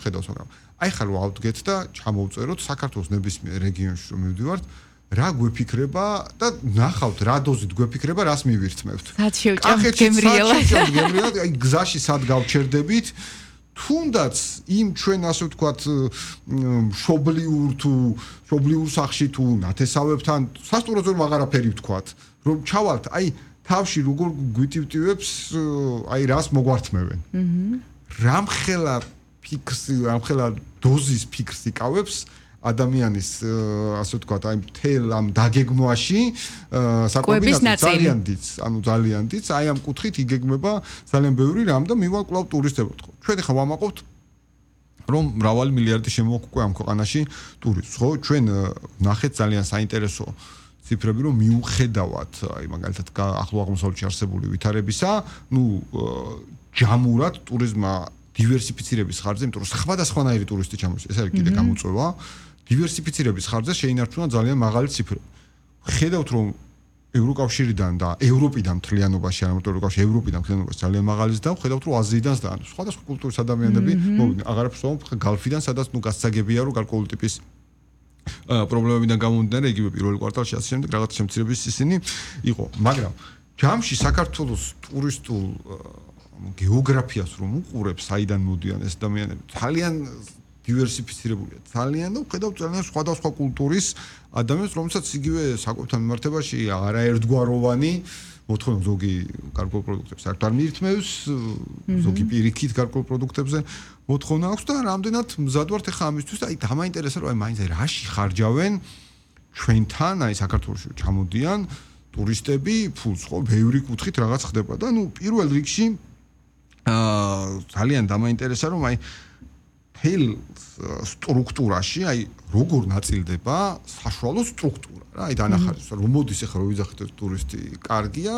ხედავს მაგრამ აი ხარ ავდგეთ და ჩამოვწეროთ საქართველოს ნებისმიერ რეგიონში რომ მივდივართ რა გვეფიქრება და ნახავთ რა დოზით გვეფიქრება რას მივირთმევთ სად შევჭამთ გემრიელად აი გზაში სად გავჩერდებით თუნდაც იმ ჩვენ ასე ვთქვათ შობლიურ სახში თუ ნათესავებთან სასტუმროზე რომ აღარაფერი ვთქვათ რომ ჩავალთ აი თავში როგორ გვიტივტივებს აი რას მოგვართმევენ რამხელა ფიქსი რამხელა დოზის ფიქსი იკავებს ადამიანის ასე ვთქვათ აი მთელ ამ დაგეგმვაში ძალიან დიდ აი ამ კუთხით იგეგმება ძალიან ბევრი რამ და მივალ კლავ ტურისტებად ხო ჩვენ ხა ვამაყობთ რომ მრავალი მილიარდი შემოვაქვს უკვე ამ ქვეყანაში ტურისტს ხო ჩვენ ნახეთ ძალიან საინტერესო ციფრები რომ მიუხედავად აი მაგალითად ახლო აღმოსავლეთში არსებული ვითარებისა ნუ ჯამურად ტურიზმა დივერსიფიცირების ხარჯზე იმიტომ რომ სხვადასხვანაირი ტურისტი ჩამოდის ეს არის კიდე გამოწვევა დივერსიფიცირების ხარჯზე შეინარჩუნა ძალიან მაღალი ციფრები. ხედავთ რომ ევროკავშირიდან და ევროპიდან მთლიანობაში, არა მარტო ევროკავშირი, ევროპიდან მთლიანობაში ძალიან მაღალის და ხედავთ რომ აზიიდან და სხვადასხვა კულტურის ადამიანები მოვიდნენ. აღარაფერს ვამბობ გალფიდან, სადაც ნუ გასაგებია რომ გარკვეული ტიპის პრობლემებიდან გამომდინარე იგივე პირველ კვარტალში ასე შემდეგ რაღაც შემცირების ისინი იყო. მაგრამ ჯამში საქართველოს ტურისტულ გეოგრაფიას რომ უყურებს, საიდან მოდიან ეს ადამიანები, ძალიან დივერსიფიცირებულია ძალიან და ხედავთ ძალიან სხვადასხვა კულტურის ადამიანს, რომელსაც იგივე საკვებთან მიმართებაში არაერთგვაროვანი მოთხოვნა ზოგი გარკვეულ პროდუქტებს საერთოდ არ მიირთმევს, ზოგი პირიქით გარკვეულ პროდუქტებზე მოთხოვნა აქვს და რამდენად მზად ვართ ახლა ამისთვის და აი დამაინტერესა რომ აი მაინც რაში ხარჯავენ ჩვენთან აი საქართველოში ჩამოდიან ტურისტები ფულს ხო ბევრი კუთხით რაღაც ხდება და ნუ პირველ რიგში ძალიან დამაინტერესა რომ აი თელ სტრუქტურაში აი როგორ ნაწილდება საშუალო სტრუქტურა რა აი დანახარეს რომ მოდის ახლა რომ ვიძახით ტურისტი კარგია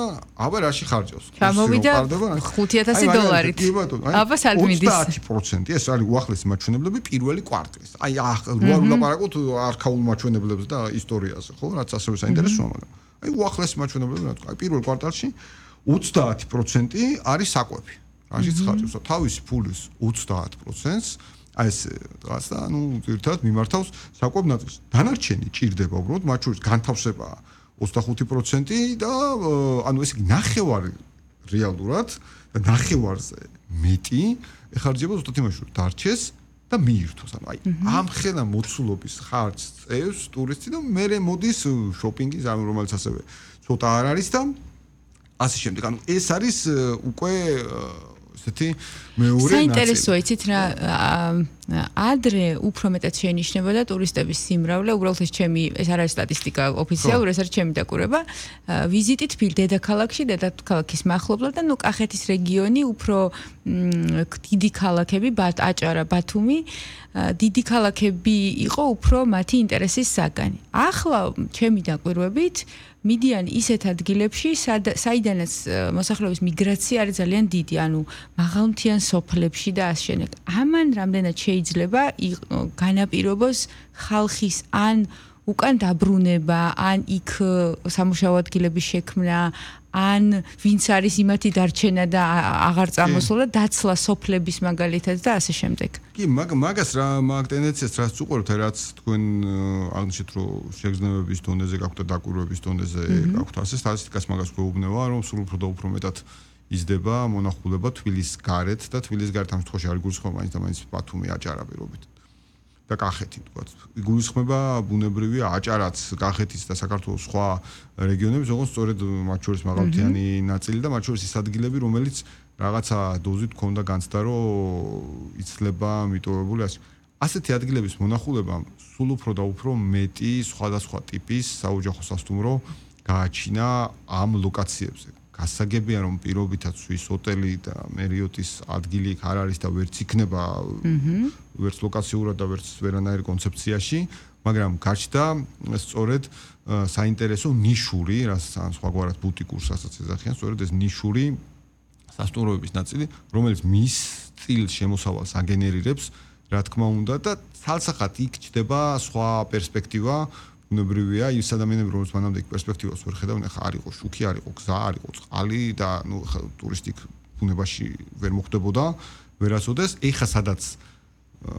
აბა რაში ხარჯავს ჩამოვიდა $5,000 აბა სად მიდის 30% ეს არის უახლესი მაჩვენებლები პირველი კვარტლის აი რა ვლაპარაკობთ არქაულ მაჩვენებლებს და ისტორიაზე ხო რაც ასევე საინტერესოა მაგრამ აი უახლესი მაჩვენებლები რა თქვა აი პირველ კვარტალში 30% არის საკვები რაშიც ხარჯავს თავისი ფულის 30%-ს აი ეს რაღაც და ნუ ერთად მიმართავს საკვებ ნაწილს. დანარჩენი ჭირდება უბრალოდ მათ შორის განთავსებაა 25% და ანუ ესე იგი ნახევარი რეალურად და ნახევარზე მეტი ეხარჯება ზუსტად იმაში რომ დარჩეს და მიირთოს. ანუ აი ამ ხელა მოცულობის ხარჯს წევს ტურისტი და მერე მოდის შოპინგის ამ რომელიც ასევე ცოტა არ არის და ასე შემდეგ. ანუ ეს არის უკვე ესეთი მეორე ნაწილი. საინტერესოა იცით რა ადრე უფრო მეტად შეინიშნებოდა ტურისტების სიმრავლე, უბრალოდ ეს არ არის სტატისტიკა ოფიციალური, ეს არის ჩემი დაკვირვება. ვიზიტით დედაქალაქში, დედაქალაქის მახლობლად და ნუ კახეთის რეგიონი უფრო დიდი ქალაქები, აჭარა, ბათუმი, დიდი ქალაქები იყო უფრო მათი ინტერესის საგანი. ახლა ჩემი დაკვირვებით მიდიან ისეთ ადგილებში, საიდანაც მოსახლეობის მიგრაცია არის ძალიან დიდი, ანუ მაღალმთიან სოფლებში და ასე შემდეგ. ამან რამდენად შეიძლება განაპირობოს ხალხის ან უკან დაბრუნება, ან იქ სამუშაო ადგილების შექმნა, ან ვინც არის იმათი დარჩენა და აღარ წამოსულა, დაცლა სოფლების მაგალითად და ასე შემდეგ. კი, მაგას რა მაგ ტენდენციას რაც უყურებთ, რაც თქვენ აღნიშნეთ, რომ შეგრძნებების დონეზე გაქვთ და დაკვირვების დონეზე გაქვთ, ასე სტატისტიკას მაგას გვეუბნება, რომ სულ უფრო და უფრო მეტად იზრდება მონახულება თბილის გარეთ და თბილის გარეთ ამ შემთხვევაში არ გულისხმობა მაინც და მაინც ბათუმი, აჭარა პირობით. და კახეთი თქვათ. გულისხმება ბუნებრივია აჭარაც, კახეთის და საქართველოს სხვა რეგიონები, ზოგადად სწორედ მათ შორის მაღალმთიანი ნაწილი და მათ შორის ის ადგილები, რომელიც რაღაცა დოზით ქონდა განცდა, რომ იცლება მიტოვებული ასე. ასეთი ადგილების მონახულება სულ უფრო და უფრო მეტი სხვადასხვა ტიპის საოჯახო სასტუმრო გააჩინა ამ ლოკაციებზე. გასაგებია რომ პირობითაც სვის ჰოტელი და მერიოტის ადგილი იქ არ არის და ვერც იქნება ვერც ლოკაციურად და ვერც ვერანაირ კონცეფციაში, მაგრამ გაჩნდა სწორედ საინტერესო ნიშური, რასაც სხვაგვარად ბუტიკურს ასაც ეძახიან, სწორედ ეს ნიშური სასტუმროების ნაწილი, რომელიც მის სტილს შემოსავალს აგენერირებს, რა თქმა უნდა და ცალსახად იქ ჩდება სხვა პერსპექტივა ბუნებრივია ის ადამიანები რომელსაც მანამდე პერსპექტივას ვერ ხედავენ ახლა არ იყო შუქი არ იყო გზა არ იყო წყალი და ნუ ტურისტიკ ბუნებაში ვერ მოხდებოდა ვერასოდეს ეხა სადაც